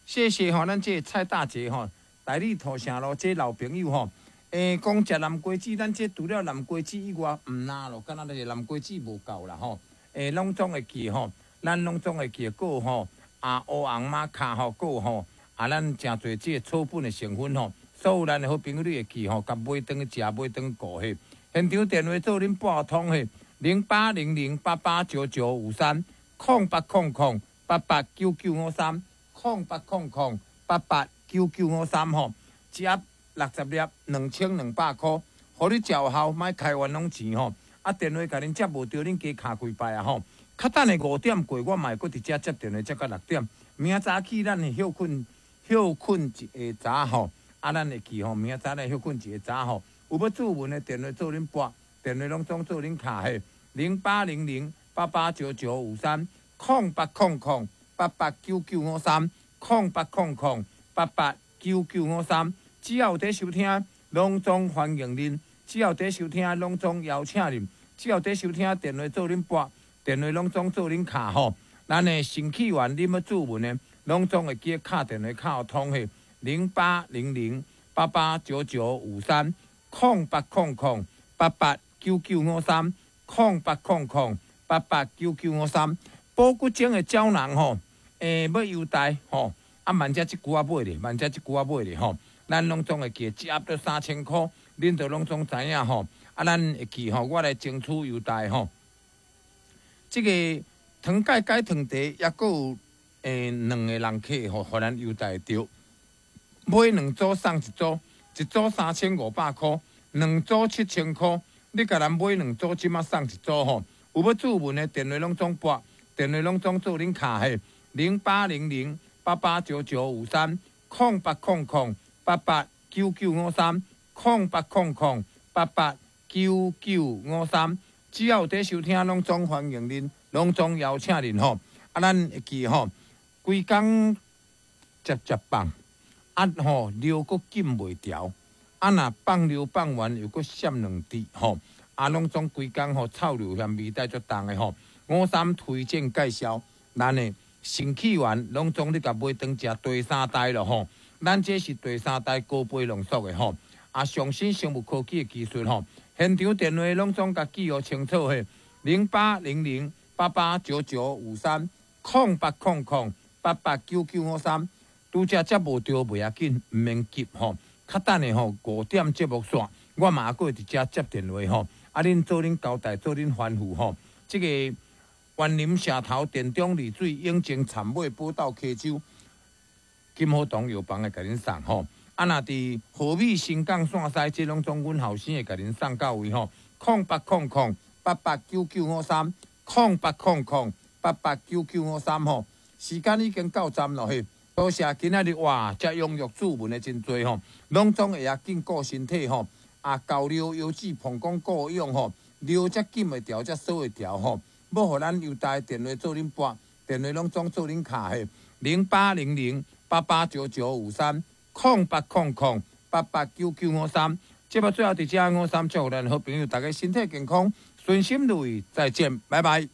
謝謝吼，咱這个蔡大姐吼，大理土城路這老朋友吼，講食南瓜子，咱這除了南瓜子以外，毋若咯，敢若就是南瓜子無夠啦吼。攏總會記吼，咱攏總會記閣吼，啊烏紅瑪卡吼，閣吼，啊咱誠濟這個草本的成分吼，所有咱的好朋友你會記吼，共買轉去食，買轉去顧嘿。現場電話做恁撥通嘿，0800889953，0800889953，0800889953吼，一盒60粒，2200箍，予你食有效，莫開冤枉錢吼。啊，電話共恁接無著，恁加敲幾擺啊吼。較等下5點過，我嘛會閣佇遮接電話，接到6點。明仔早起咱會歇睏，歇睏一下早吼。啊，咱會記吼，明仔載來歇睏一下早吼。有欲注文的電話做恁撥，電話攏總做恁敲嘿，0800889953，0800889953，0800889953。只要有佇收聽，攏總歡迎恁；只要佇收聽，攏總邀請恁；只要佇收聽，電話做恁撥，電話攏總做恁敲吼。咱的新起源，恁欲注文的，攏總會記得敲電話敲通嘿，0800889953，0800889953，0800889953。保骨精的膠囊吼，欲優待吼，啊，萬遮這久仔買咧，萬遮這久仔買咧吼，咱攏總會記一盒都3000箍，恁都攏總知影吼。啊，咱會記吼，我來爭取優待吼。這個糖鈣解糖茶抑閣有兩個人客吼，予咱優待著。買兩組送一組，一組3500箍，兩組7000箍。你共咱買兩組，這馬送一組吼。有欲注文的電話攏總撥，電話攏總做恁敲嘿，0800889953，0800889953，0800889953。只要有佇收聽，攏總歡迎恁，攏總邀請恁吼。啊，咱會記吼，規工食食放，啊吼尿閣禁袂牢，啊若放尿放完又閣閃兩滴吼，啊攏總規工吼臭尿嫌味道足重的吼。五三推薦介紹，咱的新起源攏總你共買轉食第三代咯吼。咱這是第三代高倍濃縮的吼，啊上新生物科技的技術吼。現場電話攏總共記予清楚嘿，0800889953，0800889953。拄才接無著袂要緊，毋免急吼。較等下吼5點節目煞，我嘛閣會佇遮接電話吼。啊，恁做恁交代，做恁吩咐吼。這個員林社頭田中麗水永靖杉尾寶斗溪洲金好堂藥房會共恁送吼。啊，若佇和美新港線西，這攏總阮後生會共恁送到位吼。0800889953，0800889953吼。時間已經到站咯嘿。多謝今仔日哇，遮踴躍注文的真濟吼，攏總會曉緊顧身體吼。啊，高尿腰子膀胱顧養吼，尿才禁會牢，才鎖會牢吼。欲予咱優待電話做恁撥，電話攏總做恁敲嘿，0800889953，0800889953。節目最後佇遮五三祝福咱好朋友，大家身體健康，順心如意，再見，拜拜。